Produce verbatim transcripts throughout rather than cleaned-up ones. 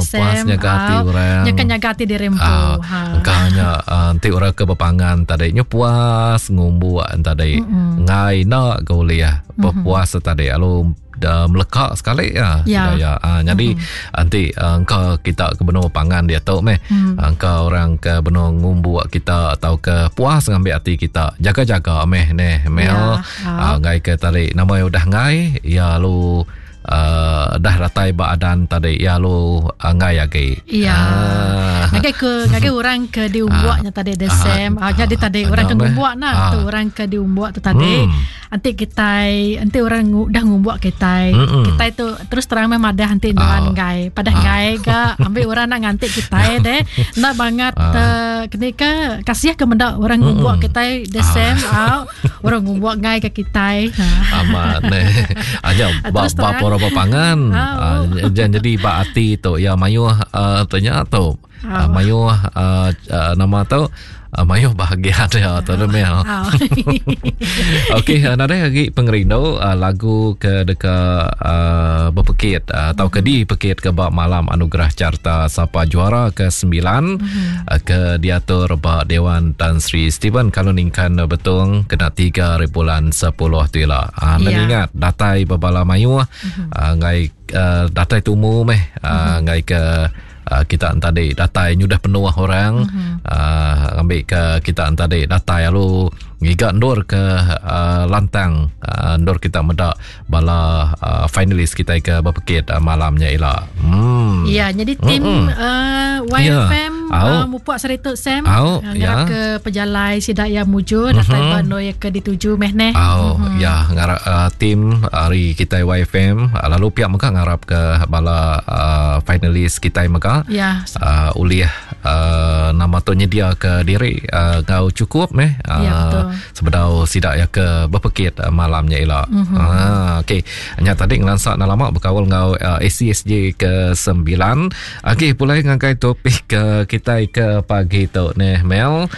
Puas nyaga ati orang. Nya kan nyaga ati diri empu. Ah, Ha. engka nya ah, enti orang ke bepangan tadi nya puas ngumbuk tadi. Ngai nak ke ulih berpuas tadi lalu dah meleka sekali ya. Ya. Ya. Ah, jadi nanti ah, engka kita ke benua pangan dia tu meh. Mm. Engka orang ke benua ngumbuk kita atau ke puas ngambil ati kita. Jaga-jaga meh neh Mel. Ya. Ah, ngai ke tadi nama udah ngai ya lu uh, dah datai ba adan tadi ya lu uh, ngai agi. Ya. Ah. Ngagai ke ngagai orang ke diumbuaknya tadi the Ah. same. Ah, jadi tadi Ah, orang ke meh. ngumbuak nak Ah. tu orang ke diumbuak tu tadi. Hmm. Nanti kita nanti orang ngu, dah ngumbuak kita. Mm-mm. Kita itu terus terang memang ada nanti nuan Ah. ngai. Padah ngai ga ambil orang nak ngantik kita deh. Nak banget Ah. uh, kenika kasih ke mendak orang ngumbuak kita the same ah. Orang ngumbuak ngai ke kita. Ha. Amat ne. Aja ba Terus ba terang. pora pangan. Ah, Ah, jangan jadi ba ati tu ya mayuh uh, tanya tu. Ah. Uh, mayuh uh, uh, nama tu uh, mayuh bahagia dia tu Mel. Ah. Okey, uh, nadai lagi pengerindu uh, lagu ke deka uh, berpekit uh, atau ke dipekit ke bak malam anugerah carta Sapa Juara ke sembilan mm-hmm. uh, ke diatur bak Dewan Tan Sri Stephen kalau ningkan betung kena tiga bulan sepuluh tu lah. Uh, Ya. yeah. ingat datai berbala mayuh mm-hmm. uh, ngai uh, datai tumu meh uh, mm-hmm. ngai ke Uh, kita tadi datai nyudah penuh orang mm-hmm. uh, ambil ke kita tadi datai lalu ngiga ndur ke uh, lantang uh, ndur kita medak bala uh, finalis kita ke berpekit uh, malamnya ila. Hmm. Ya, jadi tim Mm-mm. uh, Y F M Ya. Au. uh, mupuk seritu Sam Au, uh, ngarap ya. ke pejalai sidak yang mujur datai Mhm. bano yang ke dituju meh neh. Oh, mm-hmm. ya ngarap uh, tim hari kita Y F M uh, lalu pihak mega ngarap ke bala uh, finalis kita mega Ya. uh, ulih uh, nama tu nyedia ke diri uh, ngau cukup meh uh, Ya, betul. sebedau sidak ya ke berpekit uh, malamnya ila. Mm-hmm. Ah okey. Nya tadi ngelansak nak lama berkawal ngau uh, A C S J ke sembilan. Okey, pulai ngagai topik ke kita ke pagi tu neh Mel.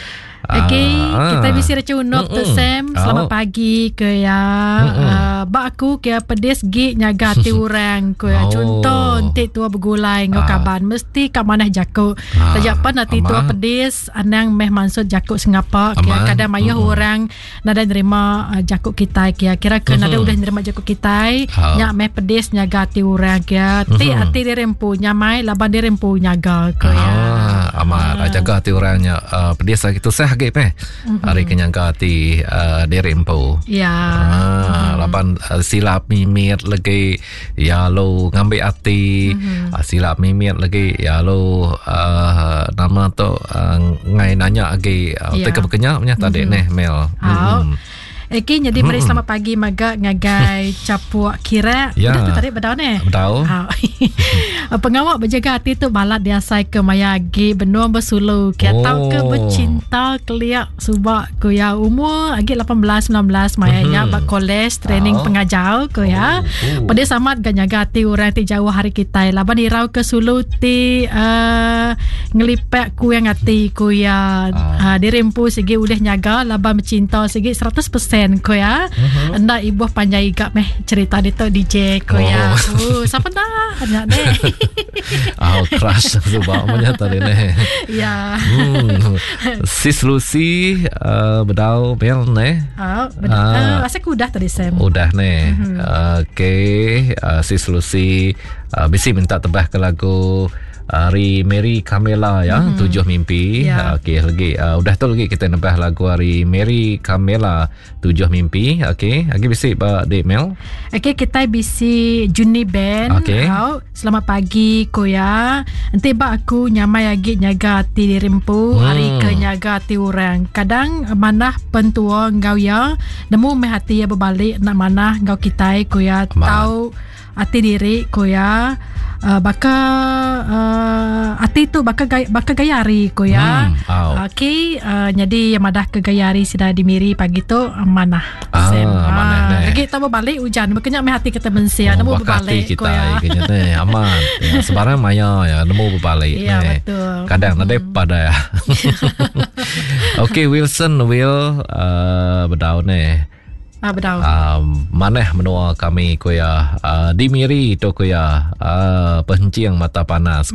Okey, Ah, kita bisi recunuk tu Mm-mm. Sam. Selamat Au. pagi ke ya. Uh, bak aku ke pedis gi nyaga ati orang ke ya. Oh. Contoh enti tua begulai ngau Ah. kaban mesti kat manah jakuk. Ah, Tajak pan ati tua amat. pedis anang meh maksud jakuk sengapa ke Amat. kadang mayuh Mm-mm. orang nada nerima uh, jakuk kita ke kira ke nada Mhm. udah nerima jakuk kita Ah. nyak meh pedis nyaga ati orang ke ti Mhm. ati diri empu nyamai laban diri empu nyaga ke ya. Ah, amat. Ah. Jaga hati orangnya uh, pedis lagi tu sah lagi peh. Mm-hmm. Hari kenyangka hati uh, diri empu. Ya. Ah, lapan uh, silap mimit lagi ya lu ngambil hati mm-hmm. uh, silap mimit lagi ya lu uh, nama tu uh, ngai nanya lagi uh, Ya. yeah. teka berkenyak punya tadi mm-hmm. neh Mel. Au. Mm-hmm. Okey, jadi meri selamat pagi maga ngagai capuk kira. Ya. Udah tu tarik bedau ne. Bedau. Au. Pengawak berjaga hati tu balat diasai ke maya agi benua bersulu ke Oh. atau ke bercinta keliak subak ku ya umur agi lapan belas sembilan belas maya nya Mhm. bak college training Au. pengajar ku ya. Oh. Pada samat ga nyaga hati orang ti jauh hari kita laban irau ke sulu ti uh, ngelipek ku yang hati ku ya Ah. uh, diri empu sigi udah nyaga laban bercinta sigi seratus peratus ku ya. Mhm. Enda ibuh panjai gap meh cerita dia tu D J ku ya. Oh. Oh, siapa dah? Banyak deh. Ah, crush subak punya tadi neh. Ya. Hmm. Sis Lucy uh, bedau Mel neh. Ah, benar. Ah. Ah, rasa aku dah tadi Sam. Udah ni. Mm-hmm. Okey, uh, Sis Lucy uh, bisi minta tebah ke lagu hari Mary Camilla ya, mm-hmm. Tujuh Mimpi. Ya. Uh, Okey, lagi uh, udah tu lagi kita nebah lagu hari Mary Camilla Tujuh Mimpi. Okey, lagi bisi ba Dek Mel. Okey, kita bisi Juni Band. Okey. Au, selamat pagi koya. Enti ba aku nyamai agi nyaga ati diri empu, Hmm. hari ke nyaga ati orang. Kadang manah pentua ngau ya, nemu meh ati ya berbalik nak manah ngau kita koya Amat. tau ati diri koya. Uh, baka uh, ati tu baka gaya, baka gaya hari koya. Hmm, au. Okey, uh, jadi yang madah ke gaya hari sudah dimiri pagi tu uh, manah. Ah, Sam. manah neh. Lagi tak berbalik hujan. Berkenyak meh hati kita mensia. Nemu Oh, bakal hati berbalik kita ko ya. kena ni aman. Ya, sebarang maya ya nemu berbalik Ya, ni. betul. Kadang hmm. pada ya. Okey, Wilson Will uh, bedau ni. Ah, bedau. Uh, maneh menua kami kuya uh, di Miri tu kuya uh, pencing mata panas.